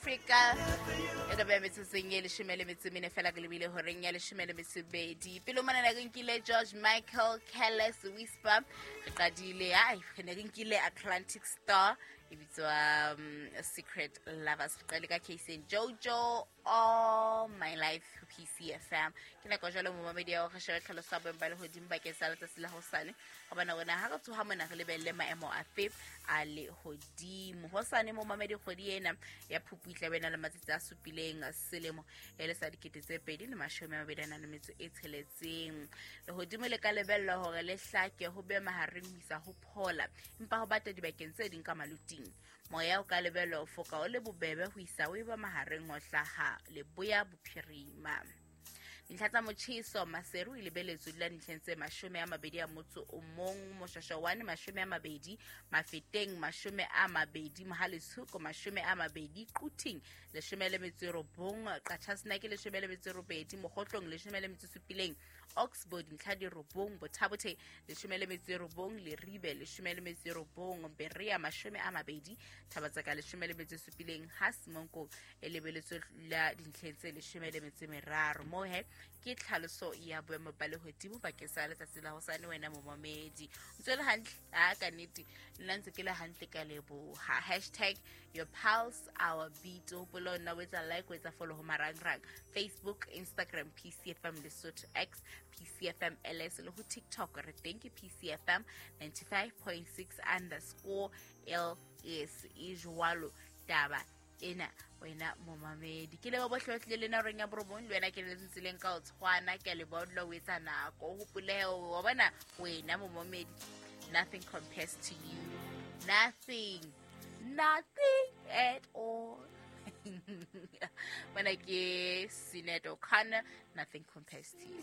Africa. E ka beha metsotsong e 14 fela ke lebile horeng ya 12. Pele mona ne re nkile George Michael, Careless Whisper. Re qadile, ai, re ne re nkile Atlantic Star e bitswa Secret Lovers. Re qadile ka Casey Jojo, All My Life, PCFM. Ke nako jwale momamedi ya hore re shebe tlhaloso ya boemo ba lehodimo bakeng sa letsatsi la hosane, gobane rona ha re tsoha mona re lebelele maemo afe a lehodimo hosane. Momamedi, kgwedi ena ya Phupu e tlabe e na le matsatsi a supileng, selemo e le sa 2026. Lehodimo le ka lebellwa hore le hlake ho be mahareng ho isa ho phola, empa ho bata dibakeng tse ding ka maluting. Moya o ka lebellwa ho foka o le bobebe ho isa o eba mahareng ho hlaha leboya bophirima. Dintlha tsa motjheso: Maseru e lebeletswe dula dintlheng tse 21, Moshashawane 20, Mafeteng 20, Mohale'shoek 20, Quthing 19, Qachasenake 18, Mokhotlong 17, Oxbow dintlha di 9, Botha Bothe 19, Leribe 19, Berea 20, Thaba-Tseka 17, ha Semonkong e lebeletswe la dintlheng tse 13. Moo he ke tlhaloso ya boemo ba lehodimo bakeng sa letsatsi la hosane. Wena momamedi, o ntse le hantle? A ka nnete nna ntse ke le hantle, ka leboha. #YourPulseOurBeat. O hopole nna o etsa like, o etsa follow ho marangrang: Facebook, Instagram, PCFM Lesotho, X, PCFM LS, le ho TikTok re teng ke PCFM 95.6_LS. E jwalo taba ena, wena momamedi. Ke leba bohle ba tlile le na horeng ya 9, le wena ke le tseleng ka o tshwana. Ke a leboha, dula o etsa nako, o hopole wa bona wena momamedi, nothing compares to you, nothing, nothing at all. Mana ke Sinead O'Connor, Nothing Compares to You.